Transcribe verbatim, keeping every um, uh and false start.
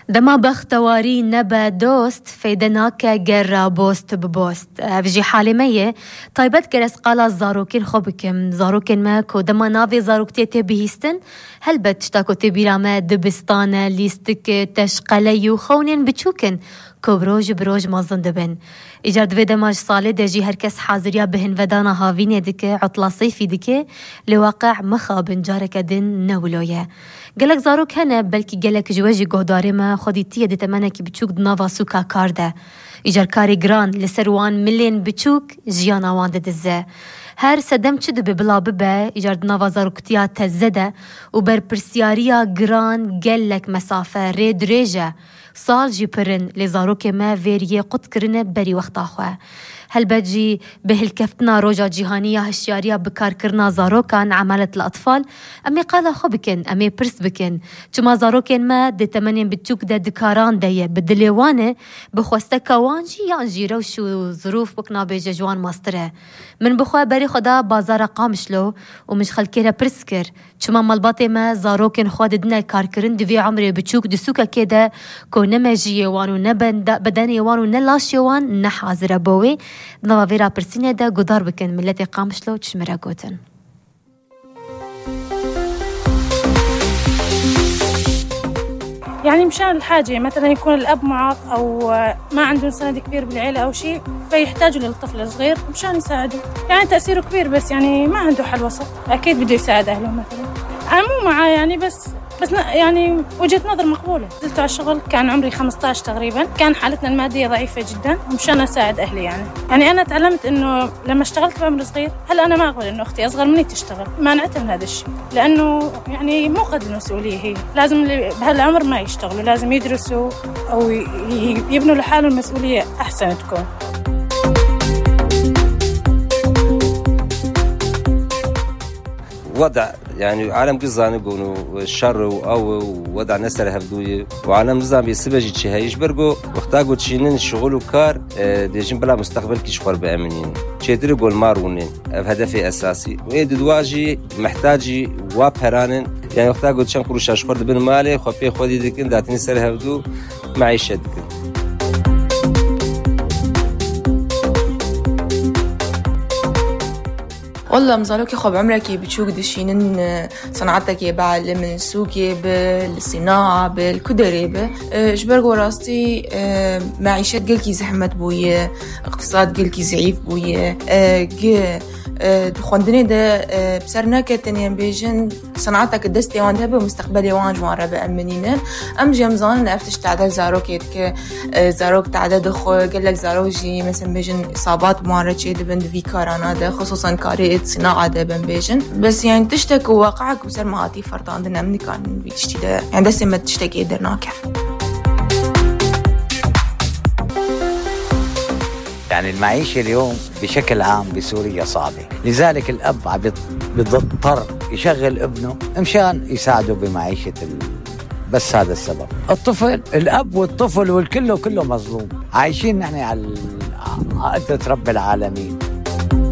Dema bextewarî nebe dost, feyde nake ger rabost bibost. Ev jî halê me ye. Taybet ger ez qala zarokên xwe bikim. Zarokên me ku dema navê zaroktiyê tê bihîstin, helbet tişta ku tê bîra me dibistan e, lîstik e, teşqeleyî û xewnên biçûk in ku bi roj bi roj mezin dibin. Îcar di vê dema ji salê de jî her kes haziriya bihinvedana havînê dike, utla seyfî dike, lê waqe mixabin careke din ne wilo ye. Gelek zarok hene, belkî gelek ji we jî guhdarê me xwe dîtiye di temenekî biçûk di nava sûka kar de. Îcar karê giran li ser wan milên biçûk jiyana wan didize. Her sedem çi dibe bila bibe, îcar di nava zaroktiya teze de û berpirsiyariya giran gelek mesafe, rê dirêj e. Sal jî pir in, lê zarokê me vêriyê qut kirine berî wexta xwe. Helbet jî bi hilkeftina Roja Cîhanî ya Hişyariya Bikarkirina Zarokan, Emalet li Atfal, em ê qala xwe bikin, em ê pirs bikin. Çima zarokên me di temenên biçûk de di karan de ye, bi dilê wan e, bi xwesteka wan jî yan jî rewş û zirûf wek nabêje ji wan mastir e. Min bi xwe berê xwe da bazara Qamişlo û min ji xelkê re pirs kir. Çima malbatê me zarokên xwe didine karkirin di vê emrê biçûk di sûkekê de ku ne mejiyê wan û ne benda-, bedenê wan û ne laşê wan ne hazir e bo wê? Di nava vê rapirsînê de guhdar bikin miletê Qamişlo çi ji min re gotin. يعني مشان الحاجة، مثلًا يكون الأب معاق أو ما عندهم سند كبير بالعيلة أو شيء، فيحتاجوا للطفل الصغير مشان يساعدوه. يعني تأثيره كبير، بس يعني ما عنده حل وسط. أكيد بده يساعد أهله مثلًا. أنا مو معاه يعني، بس، بس ن-، يعني وجهة نظر مقبولة. نزلت على الشغل كان عمري خمستاش تقريبًا، كان حالتنا المادية ضعيفة جدًا، مشان أساعد أهلي يعني. يعني أنا تعلمت إنه لما اشتغلت بعمر صغير، هلا أنا ما أقبل إنه أختي أصغر مني تشتغل، مانعتها من هذا الشيء، لأنه يعني مو قد المسؤولية هي. لازم اللي بهالعمر ما يشتغلوا، لازم يدرسوا أو ي-، ي-، يبنوا لحالهم مسؤولية أحسن تكون. وضع، يعني، عالم كل زاني قونو الشر وأو وضع نسر هفدوية، وعالم نظام يسبجي تشهيش برقو، وقتا قد شينين شغل وكار، آه، ديجن بلا مستقبل كي شخور بأمنين. چێتر گۆلمار rûnê. Ev hedefê esasî. Wê di dua jî mehtacî wa peran in. Yani wexta ku çend qurûşa ji xwe dibin malê, xwe pê xwedî dikin, datinî ser hevdû meîşet dikin. Walla em zarokê xwe bi emrekî biçûk dişînin, e, senatekê be, li min sûkê be, li sînaa be, li ku derê be. E, ji ber ku rastî, e, meîşet gelkî zehmet bûye, iqtisad gelkî zeîf bûye. E, gi, e, di xwendinê de, e, bi ser neketin, yên bêjin, senateke destê wan de hebe, mustaqbelê wan ji wan re bi eminî ne. Em jî em zanin ev tişt tade zarokê dike, e, zarok tade dixwe, gelek zarok jî, mesela bêjin, sabat bi wan re çê dibin di vî karana de, xisûsan karê sînaa de, em bêjin. Bes, yani, tiştek ku waqia ku ser me hatî ferdandin, em nikarin vî tiştî de, yani, destê me tiştekê dernakeve. يعني المعيشة اليوم بشكل عام بسوريا صعبة، لذلك الأب عم يض-، بيضطر يشغل ابنه مشان يساعده بمعيشة ال-، بس هذا السبب. الطفل، الأب والطفل والكل كله مظلوم. عايشين نحن على ال-، عقدة رب العالمين.